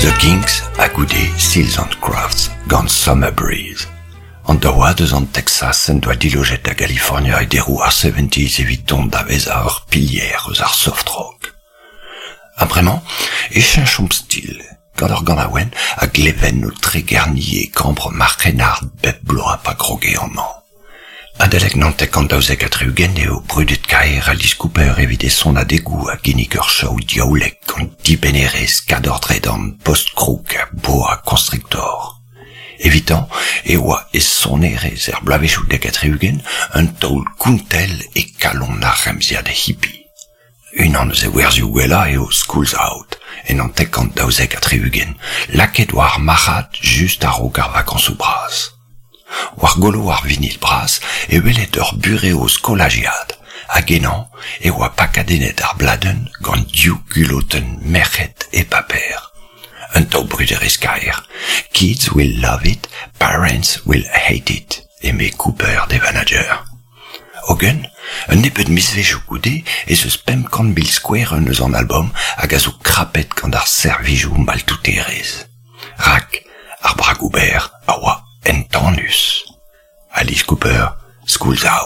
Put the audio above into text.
The Kinks ha goude Seals and Crafts gant Summer Breeze. An daouad eus an Texas en doa dilojet da Galifornia e deroù ar seventies evit dont da vezañ ur pilier eus ar soft rock. Ha bremañ e cheñchomp stil gant ur ganaouenn a gleven o tregerniñ e kambr ma c'hrennard bep bloaz pa groge amañ. Adalek 79 eo brudet-kaer Alice Cooper evit e sonadegoù a ginnig ur show diaoulek gant dibennerezh kador-dredan post-kroug ha boa constrictor. Evitañ e oa e sonerezh er bloavezhioù 70 un taol kontell e kalon ar remziad hippie. Unan eus e werzioù gwellañ eo School's Out, en 1972, lakaet war ar marc'had just a-raok ar vakañsoù bras. War golo ar vinil bras e weled ur burev skolajiad, hag ennañ e oa pakadennet ar bladenn gant div gulotenn merc'hed e paper. Un taol bruderezh kaer. Kids will love it, parents will hate it, eme Cooper d'e vanager. Hogen, un nebeud mizvezhioù goude ez eus 500 000 skouerenn eus an albom hag a zo krapet gant ar servijoù maltouterezh. Rak ar bragoù-berr a oa entanus. Alice Cooper, School's Out.